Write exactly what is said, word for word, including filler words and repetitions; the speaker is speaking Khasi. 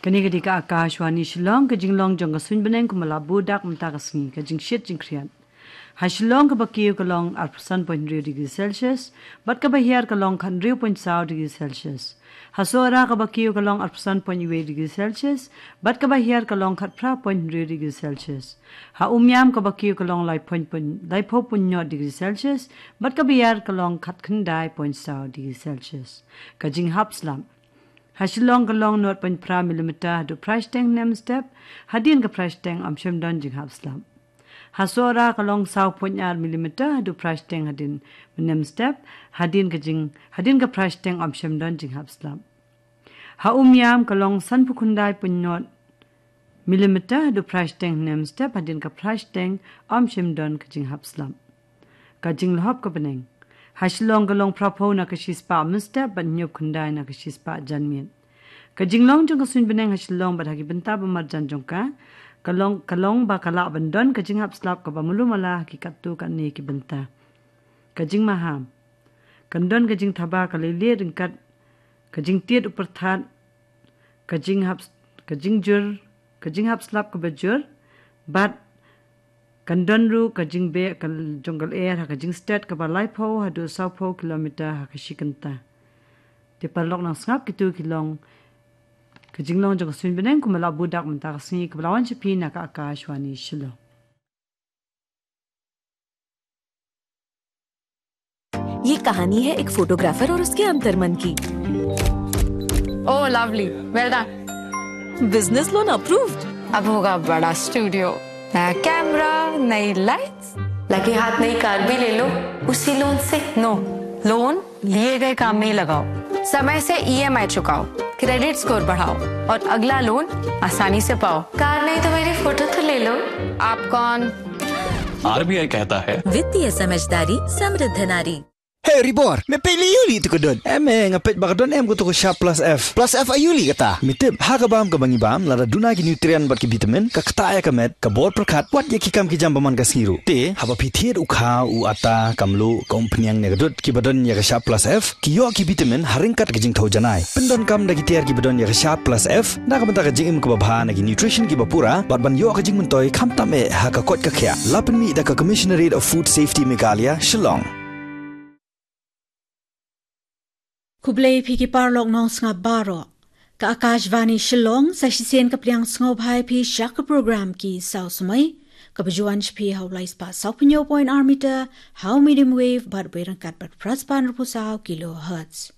Kane ka dei ka Akashvani Shillong, ka jinglong jong ka suiñ bneng kumba la buh dak mynta ka sngi, ka jingshit jingkhriat. Ha Shillong kaba kiew ka long arphew san point hynriew degree Celsius, bad kaba hiar ka long khathynriew point saw degree Celsius. Ha Sohra kaba kiew ka long arphew san point wei degree Celsius, bad kaba hiar ka long khatphra point hynriew degree Celsius. Ha Umiam kaba kiew ka long lai point, point, laiphew point nod degree Celsius, bad kaba hiar ka long khatkhyndai point saw degree Celsius. Ka jinghap slap. Ha Shillong ka long nod point phra millimeter haduh phra shiteng hynne mynstep, hadien ka phra shiteng ym shym don jinghap slap. Ha Sohra ka long saw point ar millimeter haduh phra shiteng hadien mynne mynstep, hadien ka jing, hadien ka phra shiteng ym shym don jinghap slap. Ha Umiam ka long sanphew khyndai point nod millimeter haduh phra shiteng hynne mynstep, hadien ka phra shiteng ym shym don ka jinghap slap. Ka jinglhop ka bneng. Ha Shillong ka long phraphew na ka shispah mynstep bad hynñiewphew khyndai na ka shispah janmiet. Ka jinglong jong ka suiñ bneng ha Shillong bad ha ki bynta ba marjan jong ka, ka long, ka long ba ka lah ban don ka jinghap slap kaba malu mala ha ki katto katne ki bynta. Ka jingmaham. Kan don ka jingthaba ka leilieh ryngkat ka jingtied u pyrthat, ka jinghap, ka jingjur, ka jinghap slap kaba jur, bad kan don ruh ka jingbeh ka jong ka lyer ha ka jingstet kaba laiphew haduh sawphew kilometer ha ka shi kynta. Te paralok nongsngap, kito ki long ka jinglong jong ka suiñ bneng kumba la buh dak mynta ka sngi, kaba la wan sha phi na ka Akashvani Shillong. ये कहानी है एक फोटोग्राफर और उसके अंतर्मन की। Oh lovely, well done. बिजनेस लोन अप्रूव्ड। अब होगा बड़ा स्टूडियो, नया कैमरा, नई लाइट्स। लगे हाथ नई कार भी ले लो उसी लोन से। नो, लोन लिए गए काम में ही लगाओ, समय से ईएमआई चुकाओ, क्रेडिट स्कोर बढ़ाओ और अगला लोन आसानी से पाओ। कार नहीं तो मेरी फोटो तो ले लो। आप कौन? आरबीआई कहता है, वित्तीय समझदारी समृद्ध नारी। Hey Ribor, me peit lei ïa u lei tu ka don. Em, eh, nga peit ba ka don em ka tu ka Sharp Plus F. Plus F aïu lei kata? Me tip, ha ka bam kaba ngi bam, lada duna ki nutrient bad ki vitamin, ka ktah ïa ka met, ka bor pyrkhat, wat ïa ki kam ki jam ba man ka sngi ruh. Te, haba phi thied u kha, u atta, ka mluh, ka umphniang ne ka dud, kiba don ïa ka Sharp Plus F, ki ïoh ki vitamin ha ryngkat ka jingthew janai. Pyndonkam da ki tiar kiba don ïa ka Sharp Plus F, na ka bynta ka jingim kaba bha, na ki nutrition kiba pura, bad ban ïoh ka jingmyntoi khamtam eh ha ka koit ka khiah. La pynmih da ka Commissionerate of Food Safety Meghalaya, Shillong. Khublei phi ki paralok nongsngap baroh. Ka Akashvani Shillong, sa shisien ka pdiang sngewbha ïa phi sha ka program Ki Saw Samoi, kaba ju wan sha phi ha u lai spah sawphew hynñiew point ar meter ha u medium wave bad wei ryngkat bad phra spah hynriewphew saw kilohertz.